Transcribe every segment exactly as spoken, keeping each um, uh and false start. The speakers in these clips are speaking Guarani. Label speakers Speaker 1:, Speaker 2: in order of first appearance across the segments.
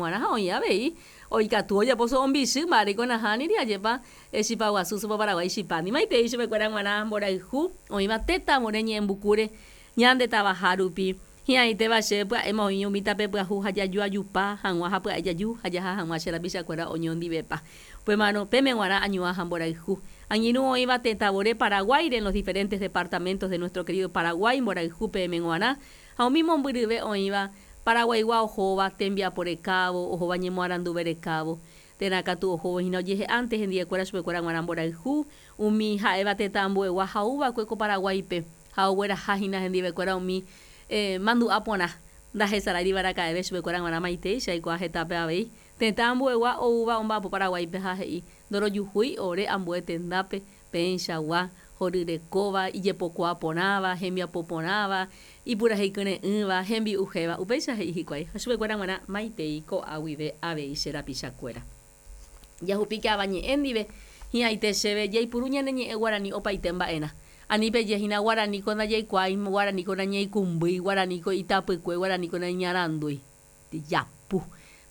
Speaker 1: G̃uarã ha oĩ avei oikatu ojapo so'ombichy mba'aréiko nahániri ajépa chipa guasu sopa paraguái chipándi maitei chupekuéra g̃uarã mborayhu oĩva tetãvore ñe'ẽmbukúre ñande tavaha rupi hi'ãitéva chéve pya'éma oĩ umi tape pyahu ha jajoajupa hag̃ua ha pya'e jaju ha jaha hag̃ua che rapichakuéra oñondivepa upémarõ péme g̃uarã añuã ha mborayhu angirũ oĩva tetãvore Paraguáire en los diferentes departamentos de nuestro querido Paraguay mborayhu peẽme g̃uarã ha umi mombyryve oĩva Paraguaigua ohóva tembiapo rekávo ohóva ñemoaranduve rekávo térã katu ohóvo hína ojehe'ánte hendivekuéra chupekuéra g̃uarã mborayhu umi ha'éva tetã ambuegua ha ouva'ekue ko Paraguáipe ha ogueraha hína hendivekuéra umi eh, mandu'a porã ndahesaráiri araka'eve chupekuéra g̃uarã maitei aikuaa hetápe avei tetã ambuegua oúva omba'apo Paraguáipe ha he'i ndorojuhúi ore ambue tendápe peẽichagua horyrekóva ijepokuaa porãva hembiapo porãva ipurahéikyre'ỹva hembi'uhéva upéicha he'i hikuái ha chupekuéra g̃uarã maitei ko'a guive avei che rapichakuéra jahupíke avañe'ẽ ndive hi'ãite chéve jaipuru ñane ñe'ẽ guarani opaite mba'erã ani pejehína guaraniko ndajaikuaái guaraniko nañaikũmbýi guaraniko itapykue guaraniko naiñarandúi japu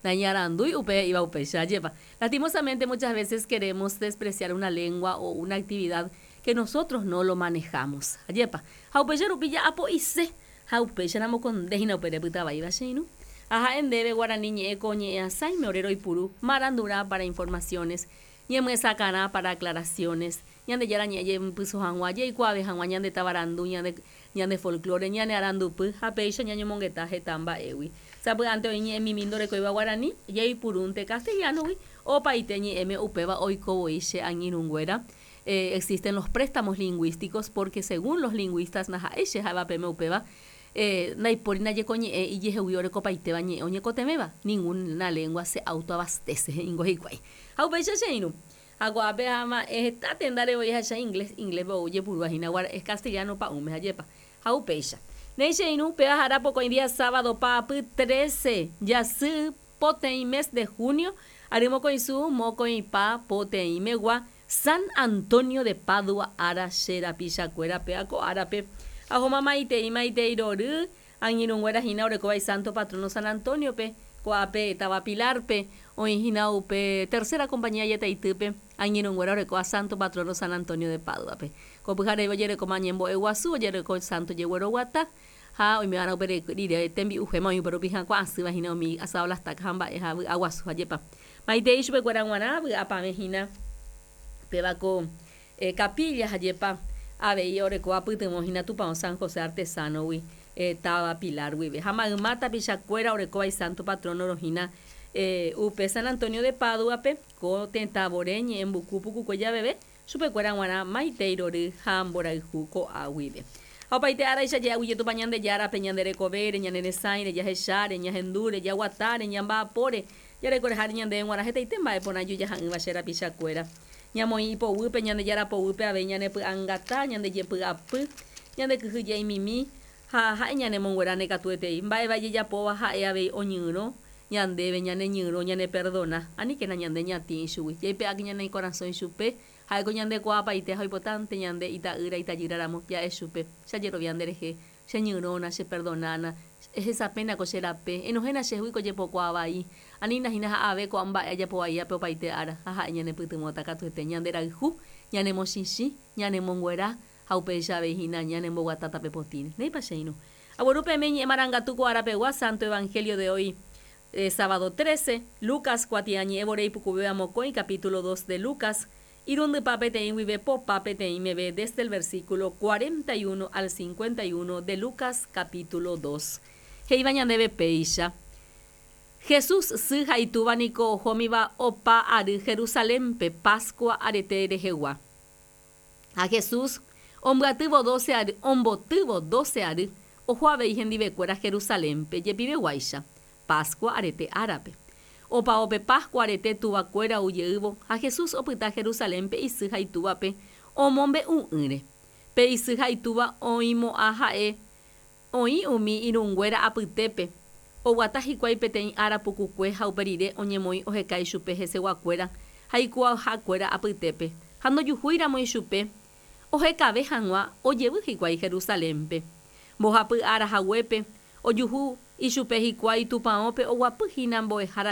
Speaker 1: naiñarandúi upe he'íva upéicha ajépa lastimosamente muchas veces queremos despreciar una lengua o una actividad que nosotros no lo manejamos ajépa ha upéicha rupi ja'apo'ise ha upéicharamo kondehína upe repytavaíva che irũ ha ha'e ndéve guarani ñe'ẽ ko ñe'ẽasãime ore roipuru marandurã para informaciones ñemyesakãrã para aclaraciones Ñandejára ñe'ẽ jepyso hag̃ua jaikuaave hag̃ua ñande tavarandu ñande ñande folklore ñane arandupy ha péicha ñañomongeta heta mba'égui sapy'ánte oĩ ñe'ẽmimi ndorekóiva guarani jaipurúnte castellano-gui opaite ñe'ẽme upéva oikovoi che angirũnguéra eh, existen los préstamos lingüísticos porque según los lingüistas ndaha'éi che ha'éva péme upéva eh, ndaipóri ndaje ko ñe'ẽ ijehegui orekopaitéva ñe'ẽ oñekotevẽva ninguna lengua se autoabastece he'ingo hikuái ha upéicha che irũ ha ko'ápe ama'ẽ heta tenda revoi ahecha inglés ingléspe ou jepurúva hína es castellano pa'ũme ajépa ha upéicha néi che irũ péva ha'éra pokõi día sábado paapy trece jasy poteĩ mes de junio ary mokõisu mokõipa poteĩmegua San Antonio de Padua ára che rapichakuéra péva ko árape ahóma maitei maitei rory angirũnguéra hína orekóva Santo Patrono San Antonio-pe ko'ápe táva Pilar-pe oĩ hína upe tercera compañía jetaitýpe angirũnguéra orekóva Santo Patrono San Antonio de Padua-pe ko pyhareve ojerekóma ñembo'e guasu ojereko Santo jegueroguata ha oime'arã upe rire tembi'uhéma oĩ upe rupi hyakuã asýva hína umi asado las tacas ha mba'e ha vy'a guasu ajépa maitei chupekuéra g̃uarã vy'apavẽ hína péva ko eh, capilla ajépa avei orekóva pytyvõ hína Tupão San José Artesano-gui eh, táva Pilar guive ha mayma tapichakuéra orekóva Santo Patrono rohína eh, upe San Antonio de Padua-pe ko tetãvore ñe'ẽmbuku pukukue javeve chupekuéra g̃uarã maitei rory ha mborayhu ko'a guive ha opaite áraicha je'aguyje Tupã Ñandejárape ñande rekovére ñane resãire jahecháre ñahendúre jaguatáre ñamba'apóre jarekoreháre ñandéve g̃uarã hetaite mba'e porã ijojaha'ỹva che rapichakuéra ñamoĩ ipoguýpe Ñandejára poguýpe avei ñanepy'angata ñande jepy'apy ñande kyhyje'imimi ha ha'e ñanemongueráne katuetei mba'éva ijejapóva ha'e avei oñyrõ ñandéve ñaneñyrõ ñaneperdona aníkena ñande ñatĩ ichugui jaipe'áke ñane korasõ ichupe ha'éko ñandekuaapaite ha oipotánte ñande ita'ýra itajýraramo ja'e chupe che ajerovia nderehe cheñyrõna cheperdonána ehesapéna ko che rape enohéna chehegui ko jepokuaa anína hína ha'ave ko'ã mba'e ajapovaiápe opaite ára ha ha'e ñanepytyvõta katuete ñande rayhu ñanemochichĩ ñanemonguera ha upéicha avei hína ñanemboguata tape potĩre néipa che irũ agueru peẽme ñe'ẽ marangatu ko árapegua Santo Evangelio de hoy eh, sábado trece Lucas kuatiañe'ẽ vore ipukuvéva mokõi capítulo dos de Lucas irundypa peteĩ guive popa peteĩ meve desde el versículo cuarenta y uno al cincuenta y uno de Lucas capítulo dos he'íva ñandéve péicha Jesús sy ha itúva niko ohómiva opa ary Jerusalénpe Pascua arete rehegua ha Jesús ombyatývo doce ary ombotývo doce ary oho avei hendivekuéra Jerusalénpe jepiveguáicha Pascua arete árape opavópe Pascua arete tuvakuéra ojeývo ha Jesús opyta Jerusalénpe isy ha itúvape omombe'u'ỹre pe isy ha itúva oĩmo'ã ha'e oĩ umi irũnguéra apytépe oguata hikuái peteĩ ára pukukue ha upe rire oñemoĩ oheka ichupe heseguakuéra ha ikuaahakuéra apytépe ha ndojuhúiramo ichupe ohekave hag̃ua ojevy hikuái Jerusalénpe mbohapy ára haguépe ojuhu ichupe hikuái tupãópe oguapy hína mbo'ehára